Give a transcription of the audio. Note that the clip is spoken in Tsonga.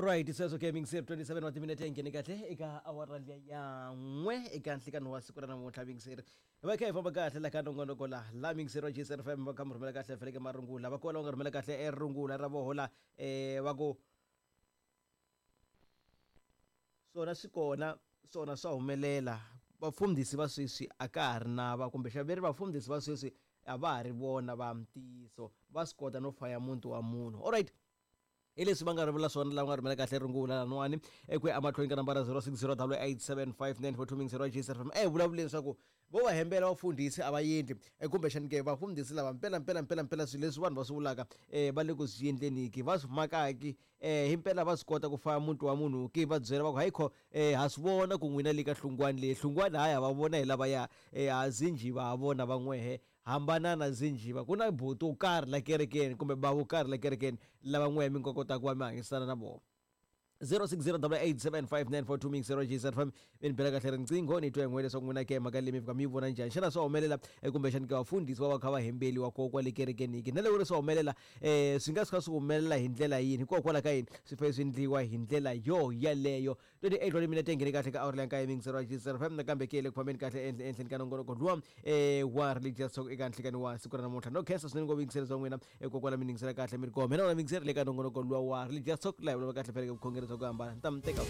Alright, sweswo ke mingiseri 27 wa timinete yi nghene kahle eka awara liya ya n'we eka nhlikani wa siku ra namuntlha. Mingiseri, hi va kha hi famba kahle la ka nongonoko la la mingiseri wa JSFM, va kha mi rhumela kahle feleke marungula, va kola va nga rhumela kahle e rungula ra voho la va ku swona swi kona, swona swa humelela. Vafundhisi va sweswi a ka ha ri na va, kumbe xa veri vafundhisi va sweswi a va ha ri vona va ntiyiso, va swi kota no faya muti wa munhu. Alright, hi leswi va nga ri vula swona lava nga rhumela kahle rungula laniwani eku ya emahlweni ka nambara 0608875942 mingisero wa JSFM. E vulavuleni leswaku vo va hembela vafundhisi a va endli, kumbexani ke vafundhisi lava mpela mpela mpela mpela swilo leswi vanhu va swi vulaka va le ku swi endleniki, va swi makaki himpela va swi kota ku faya muti wa munhu ki, va byela va ku hayi kho ha swi vona ku n'wina le ka hlungwani leyi hlungwani hayi ha va vona hi lavaya ha zinjiva ha vona van'wehe hambana na zinjiva ku na buti wo karhi la kerekeni kumbe bava wo karhi la kerekeni lava n'wehe mi nga kotaka ku va mi hanyisana na vona. 0608875942 mingisero JSFM, mi ni bela kahle riqingho ni twa hi n'we leswaku n'wina ke mhaka leyi mi fika mi yi vona njhani. Xana swa humelela kumbexani ke vafundhisi va va kha va hembeliwa ko kwale kerekeni ki, na loko ri swa humelela swi nga suka swi humelela hi ndlela yini, hikokwalaho ka yini swi fanele swi endliwa hi ndlela yo yaleyo? 28 wa timinete nghene kahle ka awara ya nkaye mingisero wa JSFM, nakambe ke le ku fambeni kahle ehenhleni ka nongonoko luwa wa Religious Talk eka nhlikani wa siku ra namuntlha. No khensa swinene ngopfu yingiseri bya n'wina kokwala mi ningisela kahle mi ri kona. Mina wona mingiseri le ka nongonoko luwa wa Religious Talk laha hi vulavula kahle phela ka vukhongeri bya ku hambana. Ni ta mi teka.